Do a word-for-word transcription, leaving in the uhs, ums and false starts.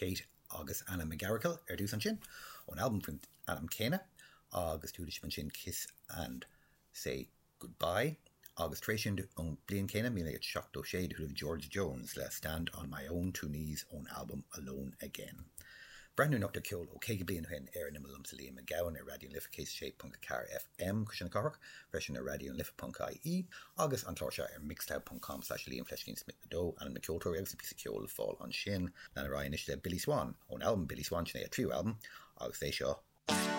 Kate agus Anna McGarrigle ar dtús ansin ón albam faoin ainm céanna agus tuaidir ansin Kiss and Say Goodbye agus tar éis sin ón bliain céanna míle naoi gcéad seachtó sé chuala George Jones le Stand on My Own Two Knees ón albam Alone Again. Breathnú anocht ar ceol ó caoga bliain ó shin ar an imeall liomsa Liam Mac Gabhann ar Raidió na Life céad sé ponc ceathair FM Cois na Cathrach, freisin ar Raidió na Life ponc IE agus an clár seo ar mixcloud.com slash Liam fleiscín Smith a dó ainm na ceoltóirí agus an píosa ceoil le fáil ansin. Lean ar aghaidh anois le Billy Swan ón albam Billy Swan sin é a tríú albam agus é seo.